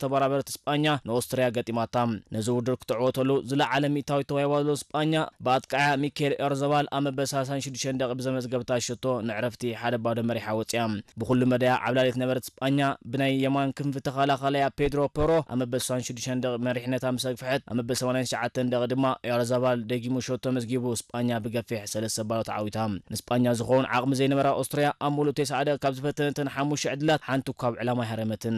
ተበራበርቲ ስጳኛ ንኦስትርያ ገጢማታ። ነዚ ውድድር ክትዕወተሉ ዝለዓለ ሚእታዊት ተዋሂባ ዘሎ ስጳኛ ብኣጥቃዕያ ሚካኤል ኦያርዛባል ኣብ መበል ሰላሳን ሽዱሽተን ደቂ ብዘመዝገብታ ሸቶ ንዕረፍቲ ሓደ ባዶ መሪሓ ወፂኣ። ብኹሉ መዳያ ዓብላሊት ነበረት ስጳኛ ብናይ የማን ክንፊ ተኸላኻላያ ፔድሮ ፖሮ ኣብ መበል ስሳን ሽዱሽተን ደቂ መሪሕነታ ምስ ኣግፍሐት፣ ኣብ መበል ሰማንያን ትሽዓተን ደቂ ድማ ኦያርዛባል ደጊሙ ሸቶ መዝጊቡ ስጳኛ ብገፊሕ ሰለስተ ባዶ ተዓዊታ። ንስጳኛ ዝኸውን ዓቕሚ ዘይነበራ ኦስትርያ ኣብ ሙሉእ ተስዓ ደቂ ካብ ዝፈተነተን ሓሙሽተ ዕድላት ሓንቲ እኳ ኣብ ዕላማ ኣይሃረመትን።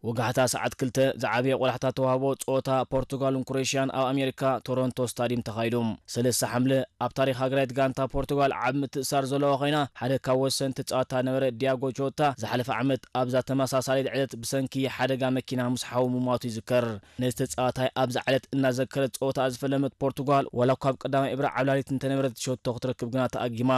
ወጋሕታ ሰዓት ክልተ ዝዓበየ ቆላሕታ ተዋህቦ ጸወታ ፖርቱጋልን ክሮኤሽያን ኣብ ኣሜሪካ ቶሮንቶ ስታዲየም ተኻይዱ። ሰለስተ ሓምለ ኣብ ታሪኽ ሃገራዊት ጋንታ ፖርቱጋል ዓቢ ምትእሳር ዘለዋ ኮይና፣ ሓደ ካብ ወሰንቲ ጸወታ ነበረ ዲያጎ ጆታ ዝሓለፈ ዓመት ኣብዛ ተመሳሳሊት ዕለት ብሰንኪ ሓደጋ መኪና ምስ ሓዉ ምሟቱ ይዝከር። ነዚ ተጻዋታይ ኣብዛ ዕለት እናዘከረት ጸወታ ዝፈለመት ፖርቱጋል ዋላ እኳ ኣብ ቀዳማይ እብረ ዓብላሊት እንተነበረት ሸቶ ክትረክብ ግና ተኣጊማ።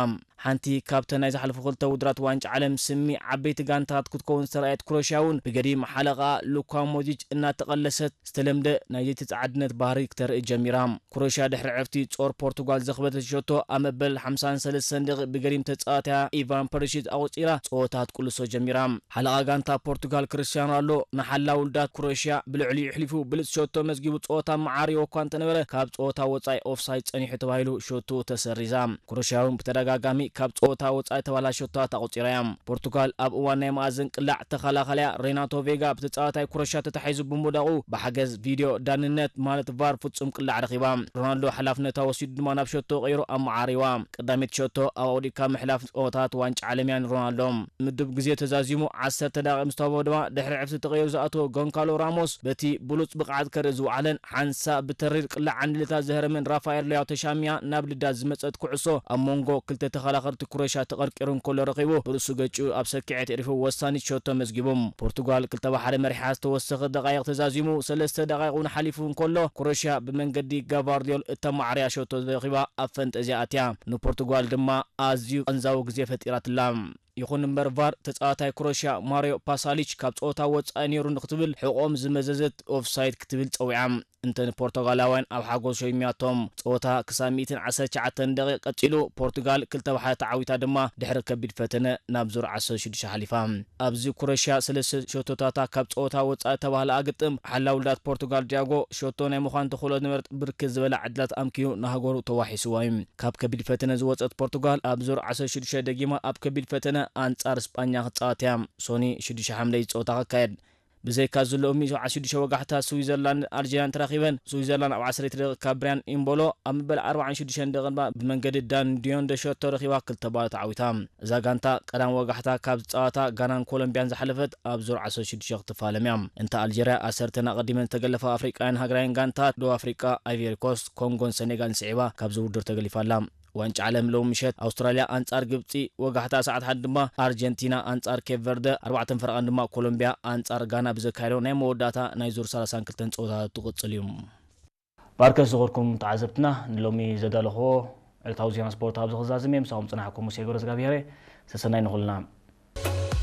ሓንቲ ካብተን ናይ ዝሓለፉ ክልተ ውድራት ዋንጫ ዓለም ስሚ ዓበይቲ ጋንታት ክትከውን ዝተረኣየት ክሮኤሽያ እውን ብገዲም ሓለቓ ሉካ ሞድሪች እናተቐለሰት ዝተለምደ ናይ ዘይተጻዓድነት ባህሪ ክተርኢ ጀሚራ። ክሮኤሽያ ድሕሪ ዕረፍቲ ጾር ፖርቱጋል ዘኽበደት ሸቶ ኣብ መበል ሓምሳን ሰለስተን ደቂቕ ብገዲም ተጻዋትያ ኢቫን ፐሪሺች ኣቑጺራ ጸወታ ክትቅልሶ ጀሚራ። ሓለቓ ጋንታ ፖርቱጋል ክርስቲያኖ ሮናልዶ ንሓላው ውልዳት ክሮኤሽያ ብልዕሊኡ ኣሕሊፉ ብሉጽ ሸቶ መዝጊቡ ጸወታ መዓርይዎ እኳ እንተነበረ ካብ ጸወታ ወጻኢ ኦፍሳይድ ጸኒሑ ተባሂሉ ሸቶ ተሰሪዛ። ክሮኤሽያ እውን ብተደጋጋሚ ካብ ጸወታ ወጻኢ ተባህላ ሸቶታት ኣቑጺራ እያ። ፖርቱጋል ኣብ እዋን ናይ መኣዝን ቅላዕ ተኸላኻሊያ ሬናቶ ቬጋ ብተጻዋታይ ክሮኤሽያ ተታሒዙ ብምውዳቑ ብሓገዝ ቪድዮ ዳንነት ማለት ቫር ፍጹም ቅላዕ ረኺባ። ሮናልዶ ሓላፍነታ ወሲዱ ድማ ናብ ሸቶ ቀይሩ ኣመዓሪዋ። ቀዳመይቲ ሸቶ ኣብ ኣውዲቕካ ምሕላፍ ጸወታት ዋንጫ ዓለም እያ ንሮናልዶ። ምዱብ ግዜ ተዛዚሙ ዓሰርተ ደቂቕ ምስ ተዋህቦ ድማ ድሕሪ ዕረፍቲ ተቐይሩ ዝኣተወ ጎንካሎ ራሞስ በቲ ብሉጽ ብቕዓት ከርኢ ዝወዓለን ሓንሳእ ብተሪር ቅላዕ ዓንድልታ ዘህረመን ራፋኤል ሊያው ተሻሚያ ናብ ልዳት ዝመጸት ኩዕሶ ኣብ መንጎ ክልተ ተኸላኸልቲ ክሮኤሽያ ተቐርቂሩ እንከሎ ረኺቡ ብርእሱ ገጭኡ ኣብ ሰኪዐት የዕሪፉ ወሳኒት ሸቶ መዝጊቡ። ፖርቱጋል ክልተ ብሓደ መሪሓ ዝተወሰኸ ደቓይቕ ተዛዚሙ ሰለስተ ደቓይቕ እውን ሓሊፉ እንከሎ ክሮኤሽያ ብመንገዲ ጋቫርዲዮል እተማዕርያ ሸቶ ረኺባ ኣብ ፈንጠዝያ ኣትያ። ንፖርቱጋል ድማ ኣዝዩ ቀንዛዊ ግዜ ፈጢራትላ። ይኹን እምበር ቫር ተጻዋታይ ክሮኤሽያ ማሪዮ ፓሳሊች ካብ ጸወታ ወጻኢ ነይሩ ንክትብል ሕቖኦም ዝመዘዘት ኦፍሳይድ ክትብል ጸዊዓ። እንተ ንፖርቱጋላውያን ኣብ ሓጎስ ሸይምያቶም። ጸወታ ክሳብ ሚእትን ዓሰርተ ትሽዓተን ደቂቕ ቀጺሉ ፖርቱጋል ክልተ ብሓደ ተዓዊታ ድማ ድሕሪ ከቢድ ፈተነ ናብ ዙር ዓሰርተ ሽዱሽተ ሓሊፋ። ኣብዚ ክሮኤሽያ ሰለስተ ሸቶታታ ካብ ጸወታ ወጻኢ ተባህላ ግጥም ሓላው ውልዳት ፖርቱጋል ዲያጎ ሸቶ ናይ ምዃን ተኽእሎ ዝነበረት ብርክት ዝበላ ዕድላት ኣምኪዩ ንሃገሩ ተዋሒስዋ እዩ። ካብ ከቢድ ፈተነ ዝወጸት ፖርቱጋል ኣብ ዙር ዓሰርተ ሽዱሽተ ደጊማ ኣብ ከቢድ ፈተነ ኣንጻር ስጳኛ ክትጻወት እያ። ሶኒ ሽዱሽተ ሓምለ እዩ ጸወታ ክካየድ። ብዘይካ ዘሎ ሎሚ ሰብዓ ሽዱሽተ ወጋሕታ ስዊዘርላንድ ኣልጀርያን ተራኺበን። ስዊዘርላንድ ኣብ ዓሰርተ ደቂቕ ካብ ብሪያን ኢምቦሎ ኣብ መበል ኣርባዓን ሽዱሽተን ደቂቕ ድማ ብመንገዲ ዳን ዲዮን ዶ ሸቶ ረኺባ ክልተ ባዶ ተዓዊታ። እዛ ጋንታ ቀዳም ወጋሕታ ካብ ዝጻወታ ጋናን ኮሎምቢያን ዝሓለፈት ኣብ ዙር ዓሰርተ ሽዱሽተ ክትፋለም እያ። እንተ ኣልጀርያ ዓሰርተን ኣቐዲመን ዝተገለፋ ኣፍሪቃውያን ሃገራውያን ጋንታት ደቡብ ኣፍሪቃ፣ ኣይቨሪ ኮስት፣ ኮንጎን ሰኔጋልን ስዒባ ካብዚ ውድድር ተገሊፋ ኣላ። ዋንጫ ዓለም ሎሚ ምሸት ኣውስትራልያ ኣንጻር ግብጺ፣ ወጋሕታ ሰዓት ሓደ ድማ ኣርጀንቲና ኣንጻር ኬፕ ቨርደ፣ ኣርባዕተን ፈረቓን ድማ ኮሎምቢያ ኣንጻር ጋና ብዘካየዶ ናይ መወዳእታ ናይ ዙር ሰላሳን ክልተን ጸወታታት ትቕጽል እዩ። ባርከስ ዝኸርኩም ተዓዘብትና ንሎሚ ዘዳለኽዎ ዕለታዊ ዜና ስፖርት ኣብዚ ክዛዝም እየ። ምሳኹም ጽናሕኩም ሙሴ ገብረዝጋብሄር እየ። ሰሰናይ ንኹልና።